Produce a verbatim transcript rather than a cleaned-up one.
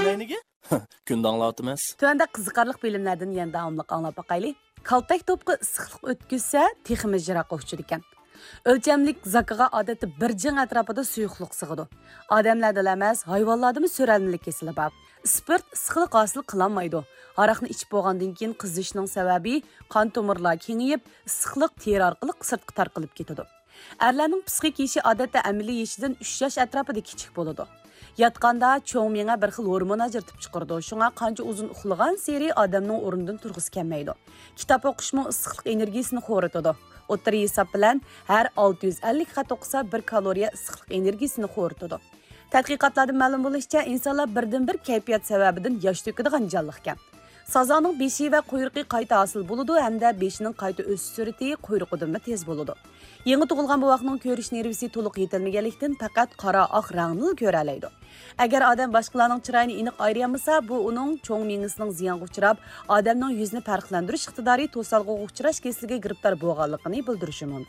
نېمىگە؟ كۈندە ئاڭلاۋاتىمىز. تۆۋەندە قىزىقارلىق بىلىملەردىن يەنە داۋاملىق ئاڭلاپ باقايلى. كالتەك توپىقى ئىسسىقلىق ئۆتكۈزسە، تېخىمۇ يىراققا ئۇچىدىكەن. ئۆلچەملىك زاكىغا ئادەتتە بىر جىڭ ئەتراپىدا سۇيۇقلۇق سىغىدۇ. ئادەملەردىلا ئەمەس، ھايۋانلاردىمۇ سۆرەلمىلىك كېسىلى بار. ئىسپىرت ئىسسىقلىق ھاسىل قىلالمايدۇ. ھاراقنى ئىچىپ بولغاندىن كېيىن قىزىشنىڭ سەۋەبى قان تومۇرلار كېڭىيىپ، ئىسسىقلىق تېرە ئارقىلىق سىرتقا تارقىلىپ كېتىدۇ. ئەرلەرنىڭ پىسخىك يېشى ئادەتتە ئەمەلىي يېشىدىن ئۈچ ياش ئەتراپىدا كىچىك بولىدۇ. ياتقاندا چوڭ مېڭە بىر خىل ھورمون ئاجرىتىپ چىقىرىدۇ، شۇڭا قانچە ئۇزۇن ئۇخلىغانسېرى ئادەمنىڭ ئورنىدىن تۇرغۇسى كەلمەيدۇ. كىتاب ئوقۇشمۇ ئىسسىقلىق ئېنېرگىيىسىنى خورىتىدۇ. ئوتتۇرا ھېساب بىلەن ھەر ئالتە يۈز ئەللىك خەت ئوقۇسا، بىر كالورىيە ئىسسىقلىق ئېنېرگىيىسىنى خورىتىدۇ. تەتقىقاتلاردىن مەلۇم بولۇشىچە، ئىنسانلار بىردىنبىر كەيپىيات سەۋەبىدىن ياش تۆكىدىغان جانلىقكەن. سازاڭنىڭ بېشى ۋە قۇيرۇقى قايتا ھاسىل بولىدۇ ھەمدە بېشىنىڭ قايتا ئۆسۈش سۈرئىتى قۇيرۇقىدىنمۇ تېز بولىدۇ. يېڭى تۇغۇلغان بوۋاقنىڭ كۆرۈش نېرۋىسى تولۇق يېتىلمىگەنلىكتىن، پەقەت قارا ئاق رەڭنىلا كۆرەلەيدۇ. ئەگەر ئادەم باشقىلارنىڭ چىرايىنى ئېنىق ئايرىيالمىسا، بۇ ئۇنىڭ چوڭ مېڭىسىنىڭ زىيانغا ئۇچراپ، ئادەمنىڭ يۈزىنى پەرقلەندۈرۈش ئىقتىدارى توسالغۇغا ئۇچراش كېسىلىگە گىرىپتار بولغانلىقىنى بىلدۈرۈشى مۇمكىن.